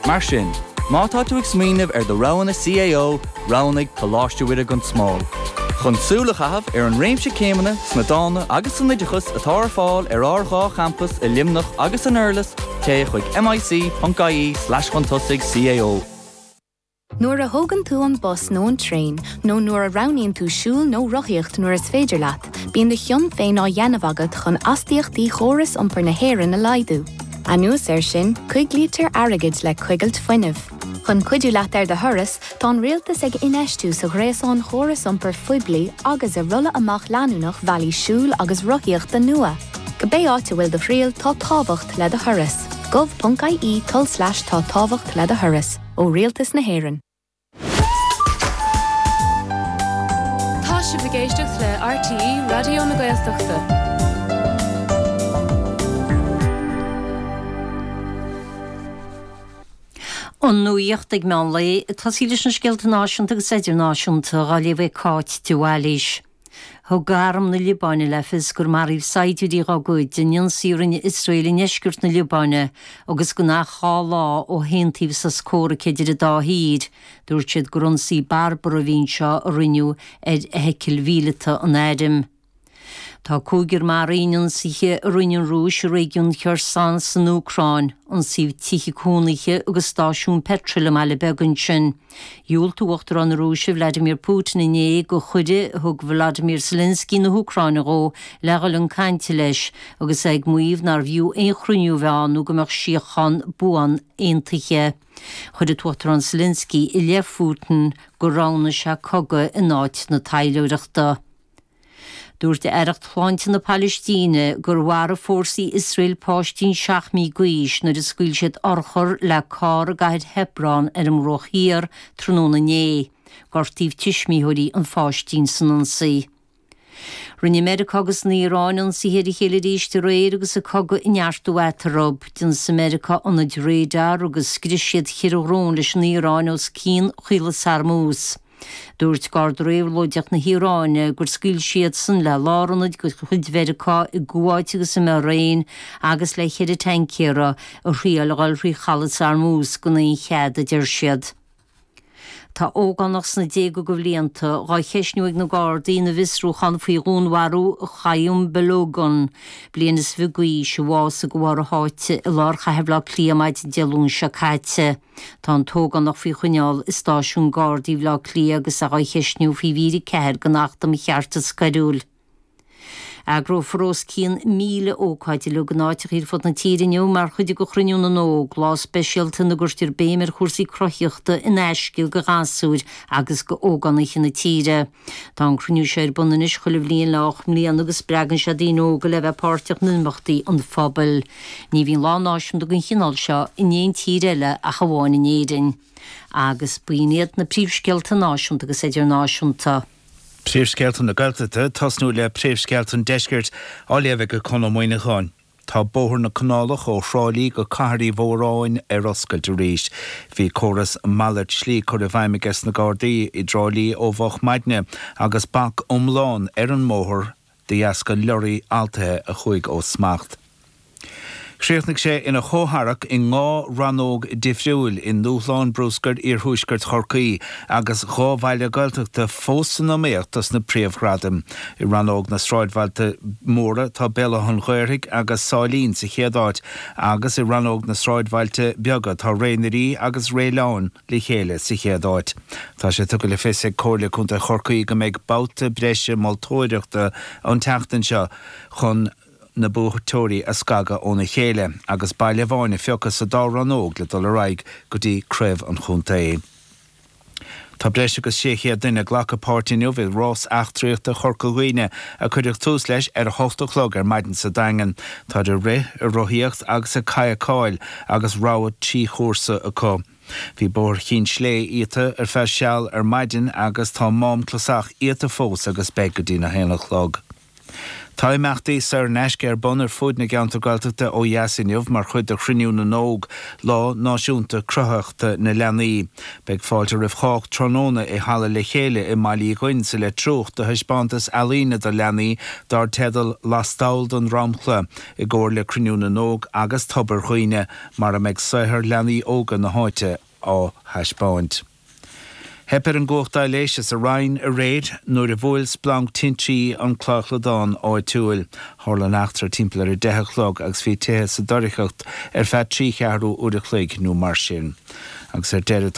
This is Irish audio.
Mar sin, má tá tú ag smaoineamh ar do roghanna CAO, roghnaigh Coláiste Mhuire gan Smál. Chun súil a chaitheamh ar an réimse céimeanna sna dána agus san oideachas atá ar fáil ar ár 2 champas i Luimneach agus san Durlas, téigh chuig mic.ie slash chun tosaigh CAO. Nuair a thógann tú an bus nó an traein, nó nuair a roghnaíonn tú siúl nó rothaíocht nuair is féidir leat, bíonn do chion féin á dhéanamh agat chun astaíochtaí chóras iompair na hÉireann a laghdú. Anuas air sin, coiglítear airgead le coigilt fuinnimh. Chun cuidiú leat ar do thuras, tá an Rialtas ag infheistiú sa ghréasán chóras iompair phoiblí agus i rolladh amach leanúnach bhealaí siúil agus rothaíochta nua. Cibé áit a bhfuil do thriall, tá tábhacht le do thuras. gov.ie tulslais tá tábhacht le do thuras. Ó Rialtas na hÉireann. Tá sibh ag éisteacht le RTÉ Raidió na Gaeltachta. An nuacht ag meán lae, ag tosaí leis na scéalta náisiúnta agus idirnáisiúnta, á léamh ag Cáit de Bhailís. Thug Arm na Liobáine le fios gur maraíodh saighdiúirí dá gcuid in ionsaí a rinne Iosrael i ndeisceart na Liobáine agus gan ach 2 lá ó haontaíodh sos comhraic idir an dá thír. Dúirt siad gur ionsaí barbartha a bhí anseo a rinneadh ar fheithicil mhíleata an airm. Tá cúigear maraithe in ionsaithe a rinne an Rúis i réigiún Kherson san Úcráin. Ionsaíodh tithe cónaithe agus stáisiún peitril i mbaile beag ansin. Dhiúltaigh Uachtarán na Rúise Vladimir Putin inné do chuireadh a thug Volodymyr Zelensky na hÚcráine dhó le dhul chun cainte leis, agus é ag maíomh nárbh fhiú aon chruinniú a bheith ann nó go mbeadh síocháin buan aontaithe. Chuir an tUachtarán Zelensky i leith Phutin gur roghnaigh sé cogadh in áit na taidhleoireachta. Dúirt Aireacht Shláinte na Palaistíne gur mharaigh fórsaí Iosrael páistín 7 mí d'aois nuair a scaoil siad urchar le carr i gcathair Hebron ar an mBruach Thiar tráthnóna inné. Gortaíodh tuismitheoirí an pháistín san ionsaí. Rinne Meiriceá agus an Iaráin ionsaithe ar a chéile arís aréir agus an cogadh ag neartú eatarthu. D'ionsaigh Meiriceá ionaid radar agus scrios siad cheithre dhrón leis an Iaráin os cionn Chaolas Hormuz. Dúirt Garda Réabhlóideach na hIaráine gur scaoil siadsan le lárionaid de chuid Mheiriceá i gCuáit agus i mBairéin agus le cheithre taincéara a thriail a dhul thrí Chalas Hormuz gan aon chead, a deir siad. Tá ógánach sna déaga de bhlianta dhá cheistniú ag na Gardaí ina bhfiosrúchán faoi dhúnmharú Khayyum Balogun, bliain is fiche d'aois, a bhásaigh de bharr a sháite i lár chathair Bhaile Átha Cliath maidin Dé Luain seo caite. Tá an t-ógánach faoi choinneáil i stáisiún Gardaí Bhaile Átha Cliath agus é dhá cheistniú faoi mhír 4 den Acht um Cheartas Coiriúil. Eagrófar os cionn 1,000 ócáid uilig in áiteacha ar fud na tíre inniu mar chuid de Chruinniú na nÓg, lá speisialta ina gcuirtear béim ar chúrsaí cruthaitheachta in aisce do ghasúir agus d'ógánaithe na tíre. Tá an cruinniú seo ar bun anois chuile bhliain le 8 mbliana agus spreagann sé daoine óga le bheith páirteach in imeachtaí an phobail. Ní bhíonn lá náisiúnta den chineál seo in aon tír eile ach amháin in Éirinn. Agus b'in iad na príomhscéalta náisiúnta agus idirnáisiúnta. Príomhscéalta na Gaeltachta, tosnú le príomhscéalta an Deiscirt, á léamh ag Conn Ó Muíneacháin. Tá Bóthar na Canálach ó Thrá Lí go Cathair Uí Mhóráin ar oscailt arís. Bhí córas malairt slí curtha i bhfeidhm aige sna Gardaí i dTrá Lí ó mhoch maidne agus bac iomlán ar an mbóthar de dheasca lorraí altaithe a chuaigh ó smacht. Chríochnaigh sé ina chomhtharrac i ndhá rannóg difriúil i nDúshlán Bruscair Iarthuaisceart Chorcaí agus dhá bhaile Gaeltachta fós san iomaíocht dos na príomhghradaim. I rannóg na sráidbhailte móra tá Béal Átha an Ghaorthaidh agus Sáilín sa chéad áit agus i rannóg na sráidbhailte beaga tá Ré na Rí agus Réileáin le chéile sa chéad áit. Tá sé tugtha le fios ag Comhairle Contae Chorcaí go mbeidh babhta breise moltóireachta an tseachtain seo chun na buaiteoirí a scagadh óna chéile agus baile amháin a phiocadh sa dá rannóg le dul ar aghaidh go dtí craobh an chontae. Tá breis agus 600 duine ag glacadh páirt inniu i Rás Eachtraíochta Chorca Dhuibhne a cuireadh tús leis ar a hocht a chlog ar maidin sa Daingean. Táid ag rith, ag rothaíocht agus ag cadhcáil agus rogha 3 chúrsa acu. Bhí Bóthar Chinn Slé iata ar feadh seal ar maidin agus tá Mám Clasach iata fós agus beidh go dtí'n 1 a chlog. Tá imeachtaí saor in aisce ar bun ar fuaid na gceantar Gaeltachta ó dheas inniu mar chuid de Chruinniú na nÓg, Lá Náisiúnta Cruthaitheachta na Leanaí. Beidh fáilte roimh chách tráthnóna i Halla Le Chéile i mBaile Uí Dhuinn sa Leitriúch do thaispeántas ealaíne do leanaí dar teideal 'Lastall den Dromchla' i gcomhar le Cruinniú na nÓg agus Tobar Dhuibhne mar a mbeidh saothar leanaí óga na háite á thaispeáint. Theip ar an gcumhacht aibhléise sa Rinn aréir nuair a bhuail splanc tintrí an claochlódán áitiúil. Tharla an eachtra timpeall ar a 10 a chlog agus bhí tithe sa doircheacht ar feadh 3 cheathrú uair a chloig nó mar sin. Agus ar deireadh.